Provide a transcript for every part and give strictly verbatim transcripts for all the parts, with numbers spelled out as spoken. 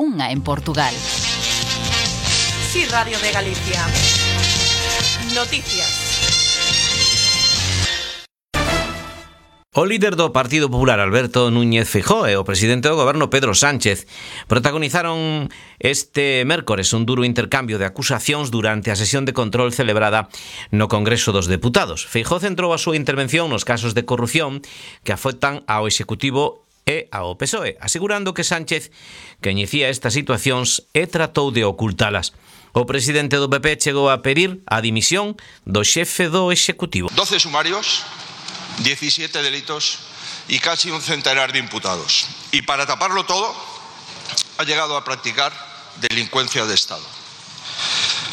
unha en Portugal. Sí, Radio de Galicia. Noticias. O líder do Partido Popular, Alberto Núñez Feijóo, e o presidente do goberno, Pedro Sánchez, protagonizaron este mércores un duro intercambio de acusacións durante a sesión de control celebrada no Congreso dos Deputados. Feijóo centrou a súa intervención nos casos de corrupción que afectan ao Executivo e ao P S O E, asegurando que Sánchez coñecía estas situacións e tratou de ocultalas. O presidente do P P chegou a pedir a dimisión do xefe do Executivo. doce sumarios, diecisiete delitos y casi un centenar de imputados. Y para taparlo todo, ha llegado a practicar delincuencia de Estado.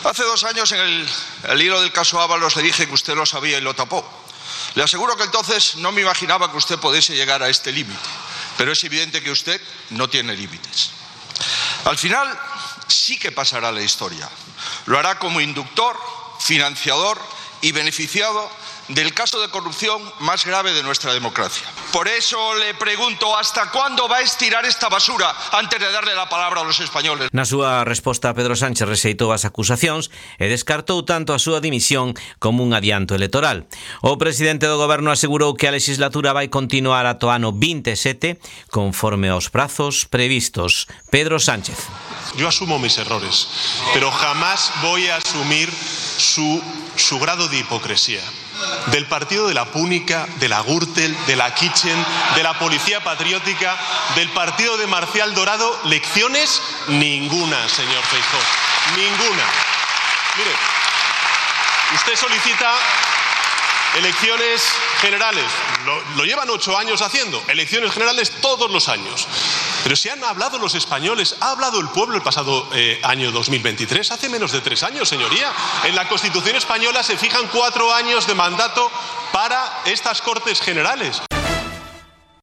Hace dos años, en el, el hilo del caso Ábalos, le dije que usted lo sabía y lo tapó. Le aseguro que entonces no me imaginaba que usted pudiese llegar a este límite, pero es evidente que usted no tiene límites. Al final, sí que pasará la historia. Lo hará como inductor, financiador y beneficiado del caso de corrupción más grave de nuestra democracia. Por eso le pregunto, ¿hasta cuándo va a estirar esta basura antes de darle la palabra a los españoles? Na súa resposta, Pedro Sánchez rexeitou as acusacións e descartou tanto a súa dimisión como un adianto electoral. O presidente do goberno asegurou que a legislatura vai continuar ata o ano veintisiete conforme aos prazos previstos. Pedro Sánchez. Yo asumo mis errores, pero jamás voy a asumir su, su grado de hipocresía. Del partido de la Púnica, de la Gürtel, de la Kitchen, de la Policía Patriótica, del partido de Marcial Dorado, lecciones ninguna, señor Feijóo, ninguna. Mire, usted solicita elecciones generales, lo, lo llevan ocho años haciendo, elecciones generales todos los años. Pero si han hablado los españoles, ha hablado el pueblo el pasado eh, año dos mil veintitrés, hace menos de tres años, señoría. En la Constitución española se fijan cuatro años de mandato para estas Cortes Generales.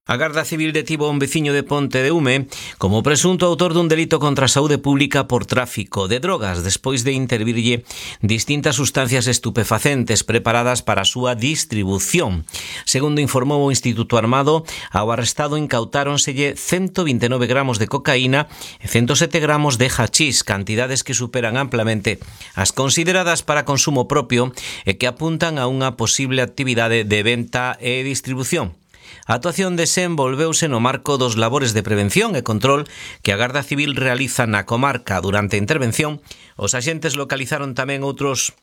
A Garda Civil detivo a un veciño de Ponte de Ume como presunto autor dun delito contra a saúde pública por tráfico de drogas, despois de intervirlle distintas sustancias estupefacentes preparadas para a súa distribución. Segundo informou o Instituto Armado, ao arrestado incautáronselle ciento vinte e nove gramos de cocaína e ciento sete gramos de hachís, cantidades que superan amplamente as consideradas para consumo propio e que apuntan a unha posible actividade de venta e distribución. A actuación desenvolveuse no marco dos labores de prevención e control que a Garda Civil realiza na comarca. Durante a intervención, os axentes localizaron tamén outros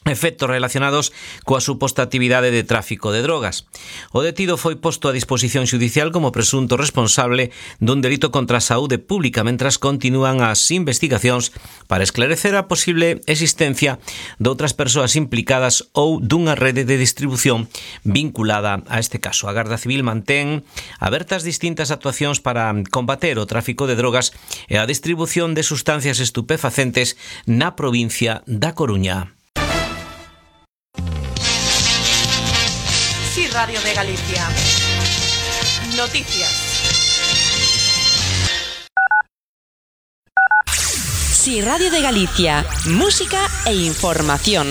efectos relacionados coa suposta actividade de tráfico de drogas. O detido foi posto a disposición xudicial como presunto responsable dun delito contra a saúde pública, mentras continúan as investigacións para esclarecer a posible existencia de outras persoas implicadas ou dunha rede de distribución vinculada a este caso. A Garda Civil mantén abertas distintas actuacións para combater o tráfico de drogas e a distribución de sustancias estupefacentes na provincia da Coruña. Sí, Radio de Galicia. Noticias. Sí, Radio de Galicia. Música e información.